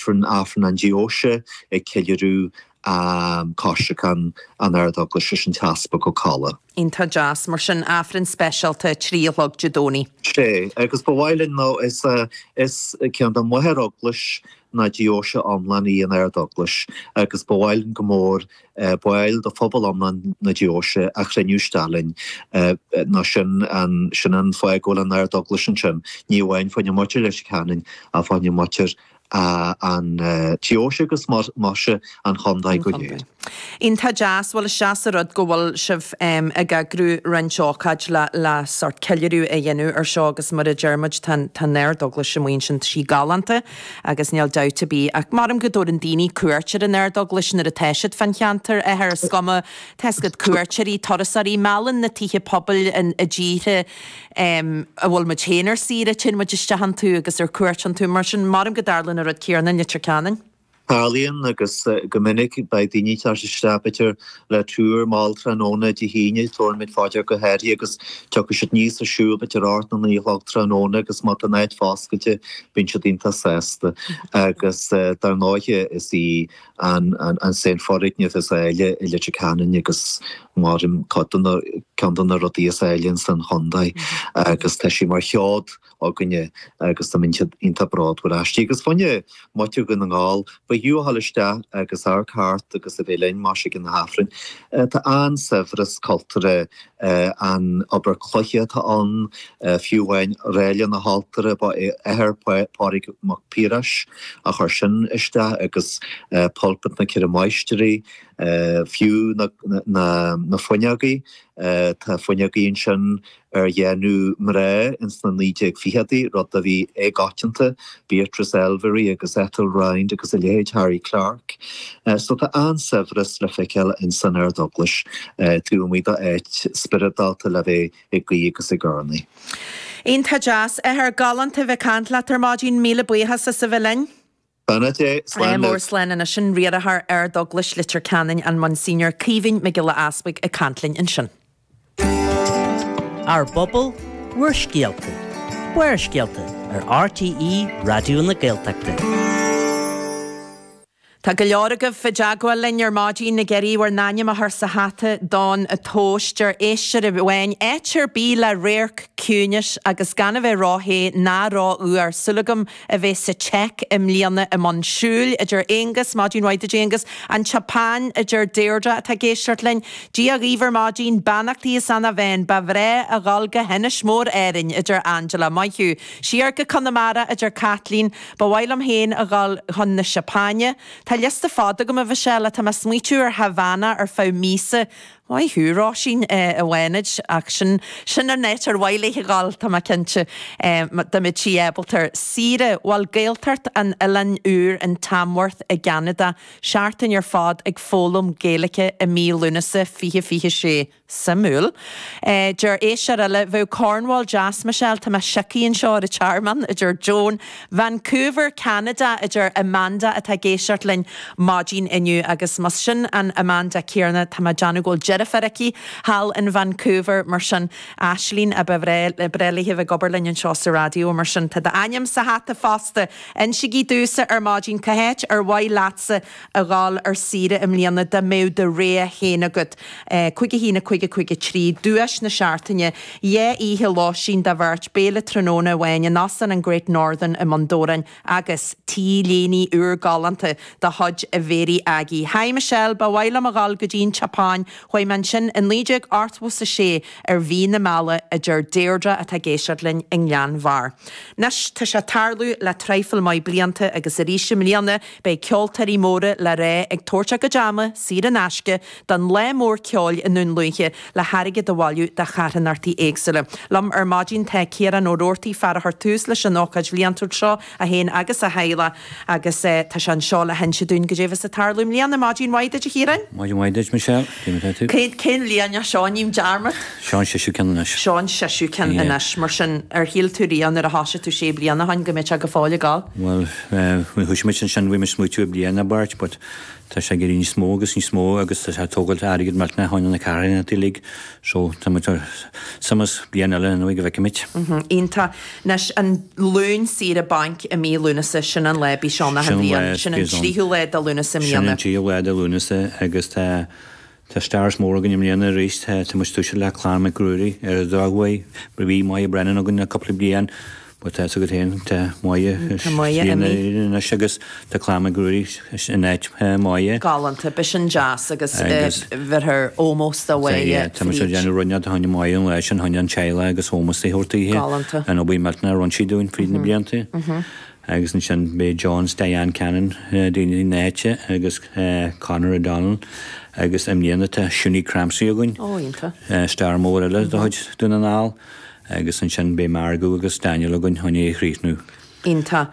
Aifreann, Aifreann an Deoise ag ceiliúradh Coisreacan an Ard-Eaglais leis an tEaspag Ó Colla. Iontach deas. Mar sin, Aifreann speisialta, 3 a chlog Dé Domhnaigh. Sea, agus ba mhaith linn, nó is is ceann de mháthair-eaglais na deoise iomlán í an Ard-Eaglais agus ba mhaith linn go mór baill de phobal iomlán na deoise a chruinniú isteach linn, nó sin an sin an fáth go bhfuil an Ard-Eaglais ansin, ní amháin fá choinne muintir Leitir Ceanainn ach fá choinne muintir an deoise agus más ea an chontae go léir. Iontach deas, bhuel is deas an rud go bhfuil sibh ag eagrú roinnt ócáid le le sórt ceiliúradh a dhéanamh ar seo agus mar a deir muid tá tá an Ard-Eaglais amuigh ansin, tá sí galánta agus níl dabht ar bith ach maram go dtabharann daoine cuairt ar an Ard-Eaglais nuair atá siad fán cheantar, athair, is cuma, tá 'fhios agat cuairteoirí, turasóirí, meallann na tithe pobail i dtíortha a bhfuil muid féin ar saoire, téann muid isteach iontu agus ar cuairt iontu, mar sin maram go dtarlaíonn an rud céanna i Leitir Ceanainn. Tarlaíonn agus go minic beidh daoine ag teacht isteach b'fhéidir le tuar mall tráthnóna Dé hAoine, tabharfaimid fá dear go háirithe agus tiocfaidh siad aníos ag siúl b'fhéidir 8 nó 9 a chlog tráthnóna agus má tá an áit foscailte bíonn siad iontach sásta agus dar ndóighe is í an an foirgneamh is áille i Leitir Ceanainn agus maram cuid de na ceann de na rudaí is áille ins an chontae agus tá sí mar sheod againne agus táimid iontach bródúil aisti. Agus fá choinne muintir Dhún na nGall, b'fhiú a ghabháil isteach agus amharc thart agus a bheith linn más ea ag na hAifrinn. Tá an-saibhreas cultúrtha, an obair cloiche atá ann, fiú amháin ráille na haltóra, ba é athair Pádraig Mac Piarais a chuir sin isteach agus pulpit na Ceithre Máistrí, fiú na fuinneogaí, tá fuinneogaí ansin ar dhéanamh mná ins na 1920idí, rud a bhí éagoitianta, Beatrice Elvery agus Ethel Rhind agus a leithéid, Harry Clarke. So tá an-saibhreas le feiceáil ins an Ard-Eaglais taobh amuigh d'áit spioradálta le bheith ag guí agus ag urnaí. Iontach deas. Athair, galánta a bheith ag caint leat ar maidin. Míle buíochas as a bheith linn. Beannacht Dé, slán libh. Mór slán anois sin Riarthóir Ard-Eaglais Leitir Ceanainn, an Monsignor Caoimhín Mac Giolla Easbuig ag caint linn ansin. Ár bpobal, bhur scéalta. Barrscéalta ar RTÉ Raidió na Gaeltachta. Tá go leor agaibh i dteagmháil linn ar maidin ag iarraidh bhur n-ainm a chur sa hata don tomhas. Deir éisteoir amháin, áit ar bith le radharc, ciúineas agus gan a bheith ró-the ná ró-fhuar. Súil agam a bheith sa tSeic i mbliana i mbun siúil, a deir Aonghus, maidin mhaith duit Aonghus, An tSeapáin, a deir Deirdre atá ag éisteacht linn. Dia dhaoibh ar maidin, beannachtaí as Eanach Mheáin, ba bhreá a dhul go hInis Mór Árainn, a deir Angela, maith thú. Siar go Conamara, a deir Caitlín, ba mhaith liom féin a dhul chun na Seapáine. Tá liosta fada agam a Mhichelle, tá mé ag smaoitiú ar Havana ar feadh míosa. Maith thú, Róisín, a Fhánaid, ach sin, sin an áit ar mhaith léi a dhul, tá mé cinnte, dá mbeadh sí ábalta air. Saoire, bhuel, Gaeltacht an Oileáin Úir in Tamworth i gCeanada, seachtain ar fad ag foghlaim Gaeilge i mí Lúnasa 2026. Suimiúil. Deir éisteoir eile, bheadh Cornwall deas, Michelle, tá mé siocaithe anseo ar an tearmann, a deir Joan. Vancouver, Ceanada, a deir Amanda atá ag éisteacht linn maidin inniu agus más sin an Amanda céanna tá mé ag déanamh go bhfuil deirfiúr aici thall in Vancouver mar sin Aislinn a ba bhreá léi a bheith ag obair linn anseo sa raidió mar sin tá d'ainm sa hata fosta. Insígí domhsa ar maidin cá háit ar mhaith leatsa a dhul ar saoire i mbliana dá mbeadh do rogha féin agat. 5 1 5 5 3, Duais na seachtaine, 2 oíche lóistín do bheirt, béile tráthnóna amháin in Óstán an Great Northern i mBun Dobhráin agus T-léine úr galánta de chuid Mhéirí Aggie. Hi Michelle, ba mhaith liom a dhul go dtí an tSeapáin, chuaigh mé ansin i 1986 ar mhí na meala, a deir Deirdre atá ag éisteacht linn i nGleann Bharr. Anois, tá sé ag tarlú le traidhfil maith blianta agus arís i mbliana Beidh ceoltóirí móra le rá ag tabhairt a gcuid ama, saor in aisce, don lá mór ceoil i nDún Lúiche le hairgead a bhailiú do charthanachtaí éagsúla. Liom ar maidin tá Ciarán Ó Roarty, fear a chuir tús leis an ócáid bhliantúil seo, é féin agus a theaghlach, agus tá sé anseo le hinse dúinn goidé a bheas ag tarlú i mbliana. Maidin mhaith duit, a Chiaráin. Maidin mhaith duit, Michelle. Cé mar atá tú? Cén bhliain é seo? Ním dearmad. Seo an seisiú ceann anois. Seo an seisiú ceann anois. Mar sin, ar shíl tú riamh nuair a thosaigh tú sé bliana ó shin go mbeadh sé go fóill ag gabháil? Bhuel, nuair a thosaigh muid ansin bhí muid ag smaoitiú bliain nó beirt but tá sé ag éirí níos mó agus níos mó agus tá sé ag tógáil airgead millteanach ó na carthanachtaí uilig so tá muid ar sumas bliain eile anyway go bhfeicfimid. Iontach. Anois, an Luan saoire bainc i mí Lúnasa, sin an lá a bíos ann achan bhliain. Sin an tríú lá de Lúnasa i mbliana. Sin an tríú lá de Lúnasa agus tá tá stars mór againn i mbliana arís. Tá muid ag toiseacht le Clann Mhic Ruairí ar an drochuair. Bhí Moya Brennan againn le cúpla bliain but tá 's agat féin tá Moya Tá Moya imithe. anois agus tá Clann Mhic Ruairí in áit Moya. Galánta, beidh sin deas agus bheirthear ómós do Mhoya Tá muid ag déanamh rud inteacht fá choinne Moya an lá sin, fá choinne an teaghlach agus ómós a thabhairt daoithe. Galánta. An obair mhillteanach a rinne sí dúinn fríd na blianta. Agus ansin beidh John 's Diane Cannon, daoine na háite, agus Conor O'Donnell agus i mbliana tá Shunie Crampsey againn. Ó, iontach. Star mór eile de chuid Dún na nGall. Agus ansin beidh Margot agus Daniel againn chun é a chríochnú. Iontach.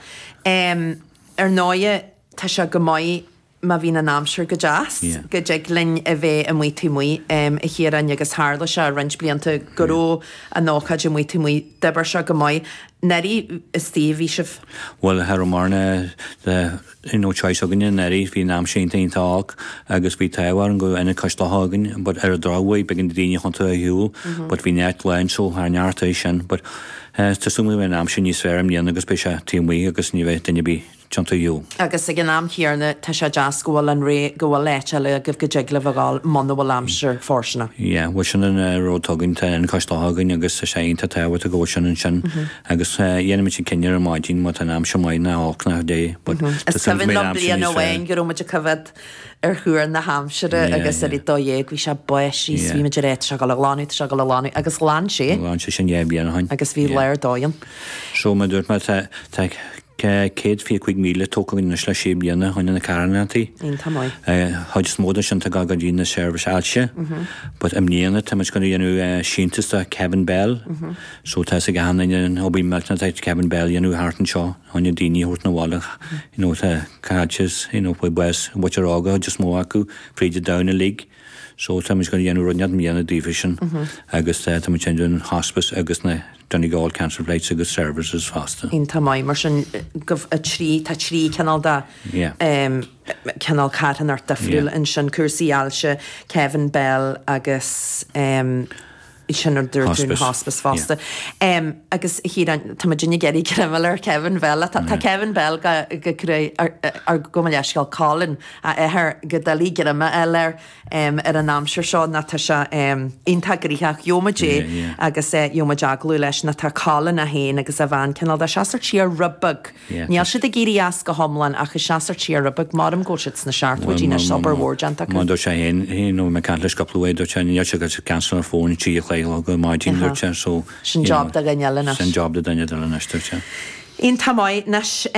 Ar ndóighe, tá sé go maith má bhíonn an aimsir go deas, go dtig linn a bheith amuigh taobh amuigh, a Chiaráin, agus tharla sé roinnt blianta go raibh an ócáid amuigh taobh amuigh, d'oibir sé go maith. Anuraidh istigh a bhí sibh? Bhuel, cha raibh mórán de no choice againne anuraidh, bhí an aimsir iontach iontach olc agus bhí an t-ádh orainn go raibh ionad cois locha againn but ar an drochuair b'éigean do daoine thiontú ar shiúl but bhí an áit lán so thar neart é sin but tá súil agam go mbeidh an aimsir níos fearr i mbliana agus beidh sé taobh amuigh agus ní bheidh duine ar bith tiontú ar shiúl. Agus ag an am chéanna tá sé deas go bhfuil an ré, go bhfuil áit eile agaibh go dtig libh a ghabháil muna bhfuil aimsir fóirsteanach. Yeah, bhuel sin an rud atá againn, tá ionad cois locha againn agus tá sé iontach tábhachtach go bhfuil sin ansin agus dhéanfaimid an cinneadh ar maidin má tá an aimsir maith nó olc nó cibé but tá Is cuimhin liom bliain amháin go raibh muid ag coimhéad ar thuar na haimsire agus ar a 12 bhí sé ag báisteach is bhí muid ag rá tá sé ag dul a ghlanadh, tá sé ag dul a ghlanadh agus ghlan sé. Ghlan sé sin 2 bhliain ó shin. Agus bhí lá ar dóigh ann. So mar a dúirt mé tá tá 125,000 tógtha againn anois le sé bliana fá choinne na carthanachtaí. Iontach maith. Chuid is mó de sin tá ag dul go dtí na seirbhís ailse. But i mbliana tá muid going to dhéanamh síntiús do Kevin Bell. So tá 'fhios ag achan duine an obair mhillteanach atá Kevin Bell a dhéanamh thart anseo fá choinne daoine a thabhairt 'na bhaile you know tá caillte you know fuair bás muintir óga chuid is mó acu fríd an domhan uilig. So tá muid going to dhéanamh rud inteacht i mbliana daofa sin agus tá muid ag déanamh an hospice agus na Donegal Cancer Flights agus Services fosta. Iontach maith. Mar sin, gabh 3, tá 3 cineál de cineál carthanacht difriúil ansin, cúrsaí ailse, Kevin Bell agus sin ar dúirt tú an hospice fosta. Agus a Chiaráin, tá muid ag iarraidh greim ar Kevin Bell. Tá Kevin Bell go go gabh mo leithscéal Colin, a athair, go doiligh greim a fháil air. ar an aimsir seo ná tá sé iontach gnoitheach. Gheobhaimid é agus gheobhaimid agallamh leis ná tá Colin é féin agus a bhean cineál de seasamh siar rud beag. Níl siad ag éirí as go hiomlán ach ag seasamh siar rud beag. Maram go bhfuil siad sna seachtóidí anois, obair mhór déanta acu. Mar dúirt sé féin, you know, mé ag caint leis cúpla uair, dúirt sé níl sé ag cancer an fón 3 a chlog ar maidin, dúirt sé, so, Sin job do dhuine eile anois. Sin job do dhuine eile anois, dúirt sé. Iontach maith. Anois,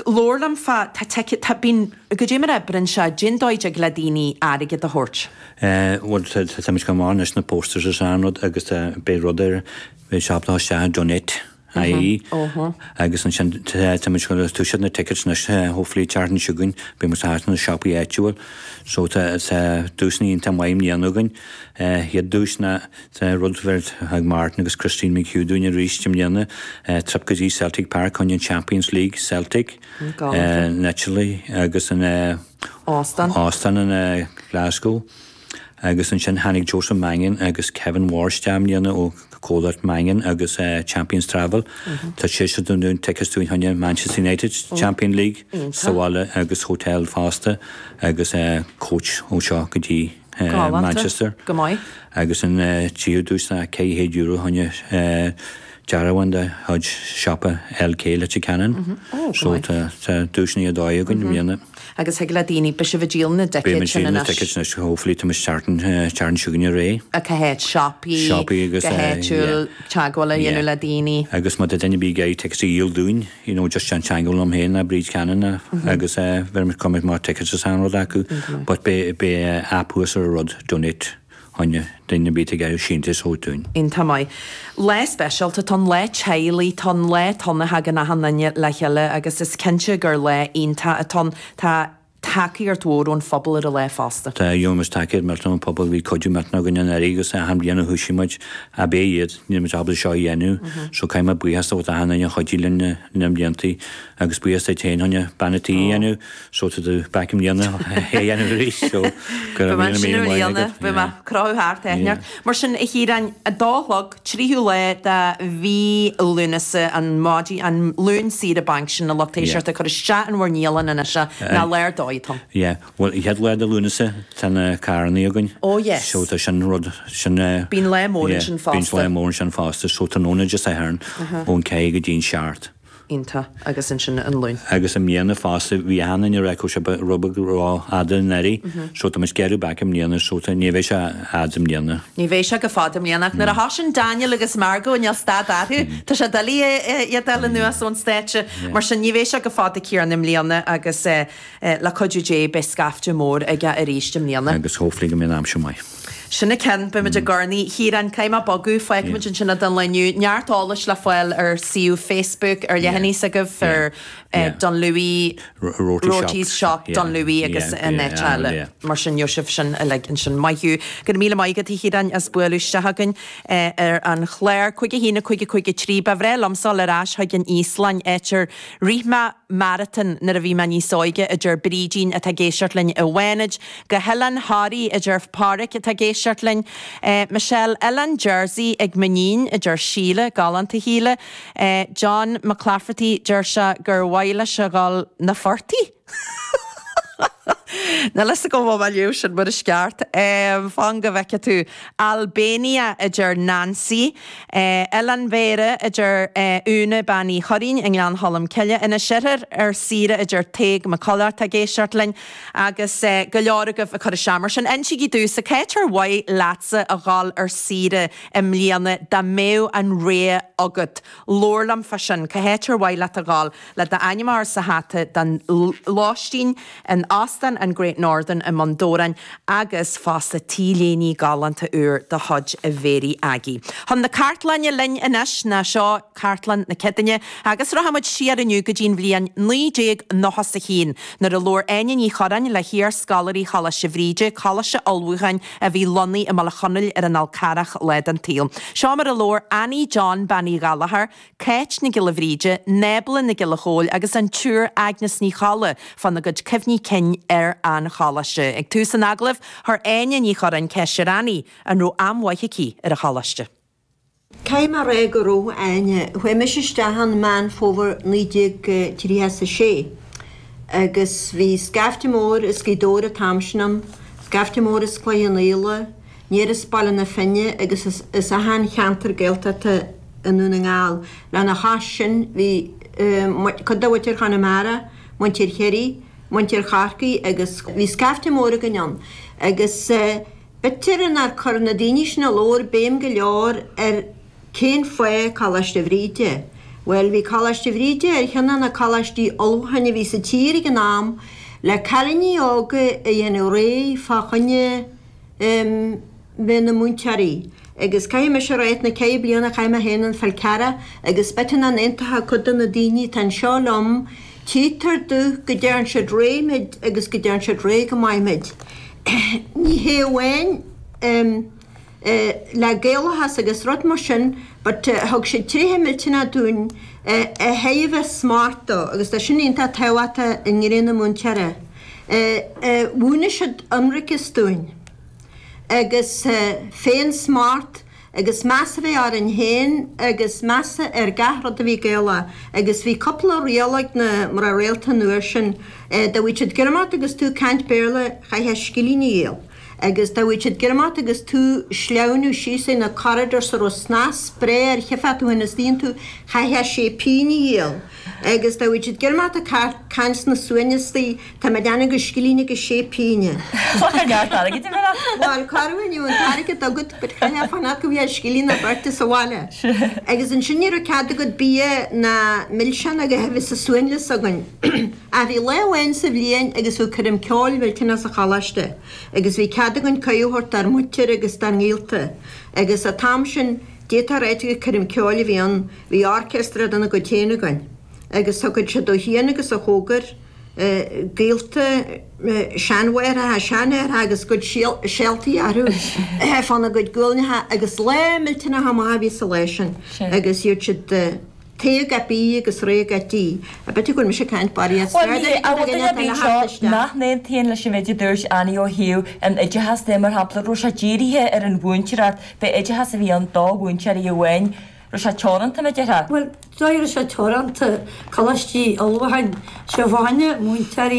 Labhair liom fá, tá ticéid, tá, bíonn, goidé mar a oibreann sé, cén dóigh a dtig le daoine airgead a thabhairt? Eh, bhuel, tá, tá muid go maith anois na posters is an rud agus tá, beidh rud ar, beidh siopa atá isteach donate. IE agus ansin tá, tá muid ag toiseacht na tickets anois, hopefully an tseachtain seo chugainn, beidh muid thart na siopaí áitiúil. So tá, tá duaiseanna iontach maith i mbliana againn. Eh, chéad duais ná Tá rud a thug Martin agus Christine McHugh dúinn arís i mbliana, trip go dtí Celtic Park chun an Champions League Celtic, naturally, agus an Óstán in Glasgow. Agus ansin tháinig Joseph Mangan agus Kevin Ward isteach i mbliana ó comhlacht Mangan agus Champions Travel. Tá siad ag dúinn tickets dúinn chun Manchester United Champions League sa bhaile agus hotel fosta agus coach ó seo go dtí Manchester. Go maith. Agus an tríú duais ná €400 choinne dearbhán de chuid siopa LK Leitir Ceanainn. So tá duaiseanna ar dóigh againn i mbliana. Agus thig le daoine, beidh sibh ag díol na dticéad sin anois. Beidh muid ag díol na tickets anois, hopefully tá muid starting starting seo chugainn ar aghaidh. Cá háit, siopaí, Siopaí agus go háitiúil, teagmháil a dhéanamh le daoine. Agus má tá duine ar bith ag iarraidh tickets a dhíol dúinn, you know, just déan teagmháil liom féin ná Bríd Cannon agus bheir muid cumair má tickets is an rud acu but beidh beidh app thuas ar an rud donate choinne duine ar bith ag iarraidh síntiús a thabhairt dúinn. Iontach maith. Lá speisialta atá ann, lá teaghlaigh atá ann, lá atá ann a thagann achan duine le chéile agus is cinnte gur lá iontach atá ann. Tá. tacaíocht mhór ón phobal ar an lá fosta. Tá, gheobhaidh muid tacaíocht millteanach ón phobal, bhí cuidiú millteanach againn anuraidh agus achan bhliain a thoisigh muid, ab é iad, níl muid ábalta seo a dhéanamh, so caithfidh mé buíochas a thabhairt d'achan duine a chuidigh linn na blianta agus buíochas duit féin Áine, bean an tí a dhéanamh, so tá tú back i mbliana é a dhéanamh arís, so go raibh míle míle maith agat. Beidh mé crochadh thart, yeah. Mar sin, a Chiaráin, 2 a chlog, 3ú lá de mhí Lúnasa, an maidin, an Luan saoire bainc sin, a lucht éisteachta, cuir isteach in bhur ndialann anois é, nó lá ar dóigh atá ann. Yeah, bhuel, an chéad lá de Lúnasa, tá na carrannaí againn. Oh yes. So tá sin rud, sin eh. Bíonn lá mór ansin fosta. Bíonn lá mór ansin fosta, so tráthnóna Dé Sathairn, ón 4 go dtí an 7. Iontach, agus ansin an Luan. Agus i mbliana fosta, bhí achan duine ag rá go raibh sé rud beag ró-fhada anuraidh, so tá muid ag gearradh back i mbliana, so tá, ní bheidh sé fhada i mbliana. Ní bheidh sé go fada i mbliana, ach nuair a thosaíonn Daniel agus Margot, níl stad orthu, tá sé doiligh iad a fháil anuas ón stáitse, mar sin ní bheidh sé go fada Ciarán i mbliana agus le cuidiú Dé beidh scaifte mór aige arís i mbliana. Agus hopefully go mbeidh an aimsir maith. Sin an ceann, beidh muid ag urnaí. A Chiaráin, caithfidh mé bogadh, fágfaimid ansin é don lá inniu. Neart eolais le fáil ar suíomh Facebook, ar leathanaigh s'agaibh, ar Dunlewey Rotis Shop Dunlewey agus an áit eile. Mar sin, gheobhaidh sibh sin uilig ansin. Maith thú. Go raibh míle maith agat, a Chiaráin, as bualadh isteach chugainn ar an chlár. 5 1 5 5 3 Ba bhreá liomsa dul ar ais chuig an Íoslainn, áit ar rith mé maratón nuair a bhí mé níos óige, a deir Brídín atá ag éisteacht linn i bhFánaid. Go hOileán Thoraí, a deir Páraic atá ag éisteacht linn. Michelle, Oileán Jersey ag m'iníon, a deir Síle, galánta Shíle. John McClafferty, deir sé gur mhaith leis a dhul na Fortaí? Níl fhios agam an bhfuil mé ag léamh sin mar is ceart. Fan go bhfeice tú. Albania, a deir Nancy. Oileán Bhéarra, a deir Úna Bean Uí Churraoin i nGleann Cholm Cille. Inis Oirthir ar saoire, a deir Tadhg Mac Colla atá ag éisteacht linn. Agus go leor agaibh ag cur isteach. Mar sin, insígí domhsa, cá háit ar mhaith leatsa a dhul ar saoire i mbliana dá mbeadh an rogha agat? Labhair liom fá sin. Cá háit ar mhaith leat a dhul? Le d'ainm a chur sa hata don lóistín in Óstán an Great Northern i mBun Dobhráin agus fosta T-léine galánta úr de chuid Mhéirí Aggie. Chun na cartlainne linn anois, ná seo Cartlann na Céadaoine agus rachaidh muid siar inniu go dtí an bhliain 1991 nuair a labhair Áine Ní Churráin le hiar-scoláirí Choláiste Bhríde, coláiste ullmhúcháin a bhí lonnaithe i mBaile Chonaill ar an Fhál Carrach lá den tsaol. Seo mar a labhair Annie John Bean Uí Ghallchóir, Cáit Nic Giolla Bhríde, Nábla Nic Giolla Chóill agus an tSiúr Agnes Ní Cholla fána gcuid cuimhní cinn ar an choláiste. Ag tús an agallaimh, chuir Áine Ní Churráin ceist ar Annie an raibh am mhaith aici ar an choláiste. Caithfidh mé a rá go raibh, a Áine. Chuaigh mise isteach ann Meán Fómhair 1936 agus bhí scaifte mór as Gaoth Dobhair an t-am sin ann, scaifte mór as Cloich Cheann Fhaola, aniar as Baile na Finne agus as achan cheantar Gaeltachta i nDún na nGall. Lena chois sin bhí cuid de mhuintir Chonamara, muintir Chiarraí, muintir Chorcaí agus bhí scaifte mór againn ann agus B'fhéidir nár chuir na daoine sin a labhair béim go leor ar cén fáth Coláiste Bhríde. Bhuel, bhí Coláiste Bhríde ar cheann de na coláistí ullmhúcháin a bhí sa tír ag an am le cailíní óga a dhéanamh réidh fá choinne em bheith ina múinteoirí. Agus caithfidh mise a rá na ceithre bliana a chaith mé féin an Fál Carrach agus b'fhéidir nach n-aontódh cuid de na daoine atá anseo liom, Tchítear domh go dtearn siad réidh muid agus go dtearn siad réidh go maith muid. Ní hé amháin le Gaelachas agus rud mar sin but thug siad tréithe millteanach dúinn a chaithfidh a bheith smachtach agus tá sin iontach tábhachtach i ngnó na múinteora. Mhúineadh siad ionraiceas dúinn agus féin-smacht agus meas a bheith orainn féin agus meas ar gach rud a bhí Gaelach agus bhí cúpla riail ag na mná rialta an uair sin, dá bhfaigheadh siad ag imeacht agus tú ag caint Béarla chaithfeá scilling a dhíol agus dá bhfaigheadh siad ag imeacht agus tú sleamhnú síos ar na corridors a raibh snas breá air chifeá tú féin istigh iontu chaithfeá sé pingin a dhíol agus dá bhfaigheadh siad ag imeacht ag caint sna suaimhneas istigh Tá mé ag déanamh go scilling agus sé pingine. Cloch neart airgid a bheith agat. Bhuel, cá raibh inniu an t-airgead agat but chaithfeá fanacht go bhfaighfeá scilling nó beirt sa bhaile. Agus ansin ní raibh cead agat bia ná milseáin a bheith sa suanlios againn. Ach bhí lá amháin sa bhliain agus bhí coirm ceoil mhillteanach sa choláiste agus bhí cead againn cuireadh a thabhairt dár muintir agus dár ngaolta agus an t-am sin d'fhéadfá a ráit gur coirm ceoil a bhí ann, bhí orchestra dena gcuid féin againn agus thiocfadh siad ó chian agus ó chóngar. Gaolta, seanmháithreacha, seanaithreacha agus a gcuid seoltaí orthu fána gcuid guailneacha agus lá millteanach maith a bhí sa lá sin agus iad siad tae go B agus réidh go D. B'fhéidir go bhfuil mise ag caint barraíocht. Bhuel, ní hé, ach bhfuil duine ar bith anseo nach n-aontaíonn leis an mhéid a dúirt Annie ó thaobh an oideachas de, mar shampla, raibh sé dírithe ar an mhúinteoireacht, b'é oideachas a bhí ann do mhúinteoirí amháin, raibh sé teoranta, mar a déarfá? Bhuel, dóigh raibh sé teoranta, coláistí ullmhúcháin, sé fá choinne múinteoirí.